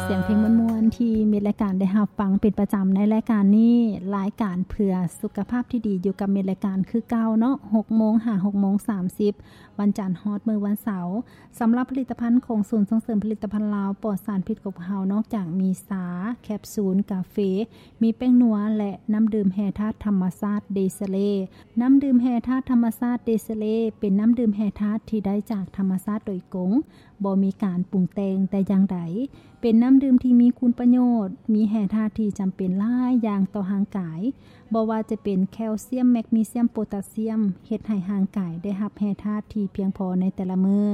ສຽງເພງມ່ວນໆ ທີ່ມິດລາຍການໄດ້ຮັບຟັງເປັນປະຈຳໃນລາຍການນີ້, ລາຍການເພື່ອສຸຂະພາບທີ່ດີຢູ່ກັບມິດລາຍການຄືເກົ່າເນາະ, ຫົກໂມງຫາຫົກໂມງສາມສິບ ວັນຈັນຮອດມື້ວັນເສົາ. ສຳລັບຜະລິດຕະພັນຂອງສູນສົ່ງເສີມຜະລິດຕະພັນລາວປອດສານພິດຂອງພວກເຮົາ, ນອກຈາກມີຊາ, ແຄບຊູນ, ກາເຟ, ມີແປ້ງນົວ ແລະ ນ້ຳດື່ມແຮ່ທາດທຳມະຊາດເດຊະເລ. ນ້ຳດື່ມແຮ່ທາດທຳມະຊາດເດຊະເລ ເປັນນ້ຳດື່ມແຮ່ທາດທີ່ໄດ້ຈາກທຳມະຊາດໂດຍກົງ, ບໍ່ມີການປຸງແຕ່ງແຕ່ຢ່າງໃດ, ເປັນນ້ຳດື່ມທີ່ມີຄຸນປະໂຫຍດ, ມີແຮ່ທາດທີ່ຈຳເປັນຫຼາຍຢ່າງຕໍ່ຮ່າງກາຍ, ບໍ່ວ່າຈະເປັນແຄວຊຽມ, ແມັກນີຊຽມ, ໂປຕາຊຽມ, ເຮັດໃຫ້ຮ່າງກາຍໄດ້ຮັບແຮ່ທາດທີ່ພຽງພໍໃນແຕ່ລະມື້.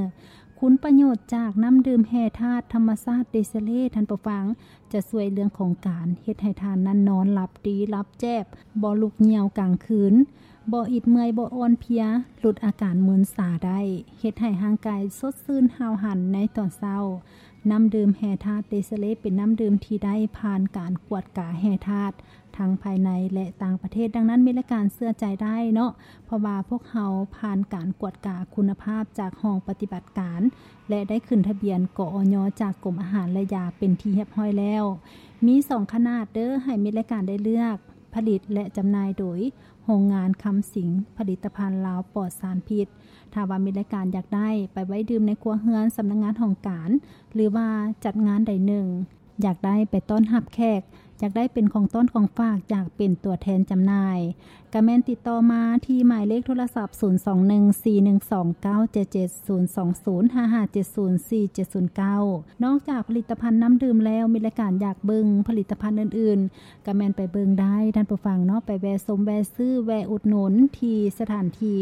ຄຸນປະໂຫຍດຈາກນ້ຳດື່ມແຮ່ທາດທຳມະຊາດເດຊະເລ, ທ່ານຜູ້ຟັງ, ຈະຊ່ວຍເລື່ອງຂອງການເຮັດໃຫ້ທ່ານນັ້ນນອນຫຼັບດີ, ຫຼັບແຈບ, ບໍ່ລຸກຍ່ຽວກາງຄືນ, ບໍ່ອິດເມື່ອຍ, ບໍ່ອ່ອນເພຍ, ຫຼຸດອາການມຶນຊາໄດ້, ເຮັດໃຫ້ຮ່າງກາຍສົດຊື່ນຫ້າວຫັນໃນຕອນເຊົ້າ. ນ້ຳດື່ມແຮ່ທາດເດຊະເລ ເປັນນ້ຳດື່ມທີ່ໄດ້ຜ່ານການກວດກາແຮ່ທາດ ທັງພາຍໃນ ແລະ ຕ່າງປະເທດ, ດັ່ງນັ້ນ ມິດລາຍການເຊື່ອໃຈໄດ້ເນາະ, ເພາະວ່າພວກເຮົາຜ່ານການກວດກາຄຸນນະພາບຈາກຫ້ອງປະຕິບັດການ ແລະ ໄດ້ຂຶ້ນທະບຽນ ກອຍ ຈາກກົມອາຫານ ແລະ ຢາ ເປັນທີ່ຮຽບຮ້ອຍແລ້ວ. ມີສອງຂະໜາດເດີ້ ໃຫ້ມິດລາຍການໄດ້ເລືອກ ຜະລິດ ແລະ ຈຳໜ່າຍໂດຍໂຮງງານຄຳສິງ ຜະລິດຕະພັນລາວປອດສານພິດ. ຖ້າວ່າມິດລາຍການຢາກໄດ້ໄປໄວ້ດື່ມໃນຄົວເຮືອນ, ສຳນັກງານຫ້ອງການ ຫຼືວ່າຈັດງານໃດໜຶ່ງ, ຢາກໄດ້ໄປຕ້ອນຮັບແຂກ, ຢາກໄດ້ເປັນຂອງຕ້ອນຂອງຝາກ, ຢາກເປັນຕົວແທນຈຳໜ່າຍ, ກະແມ່ນຕິດຕໍ່ມາທີ່ໝາຍເລກໂທລະສັບ ສູນສອງໜຶ່ງ ສີ່ໜຶ່ງສອງ ເກົ້າເຈັດເຈັດ ສູນສອງສູນ ຫ້າຫ້າເຈັດສູນ ສີ່ເຈັດສູນເກົ້າ. ນອກຈາກຜະລິດຕະພັນນ້ຳດື່ມແລ້ວ, ມິດລາຍການຢາກເບິ່ງຜະລິດຕະພັນອື່ນໆ, ກະແມ່ນໄປເບິ່ງໄດ້, ທ່ານຜູ້ຟັງເນາະ, ໄປແວ່ຊົມ, ແວ່ຊື້, ແວ່ອຸດໜູນທີ່ສະຖານທີ່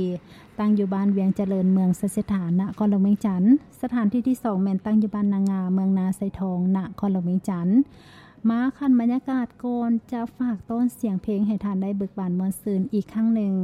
ຕັ້ງຢູ່ບ້ານວຽງຈະເລີນ, ເມືອງໄຊເສດຖາ, ນະຄອນຫຼວງວຽງຈັນ. ສະຖານທີ່ທີສອງ ແມ່ນຕັ້ງຢູ່ບ້ານນາງາ, ເມືອງນາໄຊທອງ, ນະຄອນຫຼວງວຽງຈັນ. ມາຂັ້ນບັນຍາກາດກ່ອນຈະຝາກຕ້ອນສຽງເພງໃຫ້ທ່ານໄດ້ເບີກບານມ່ວນຊື່ນອີກຄັ້ງໜຶ່ງ.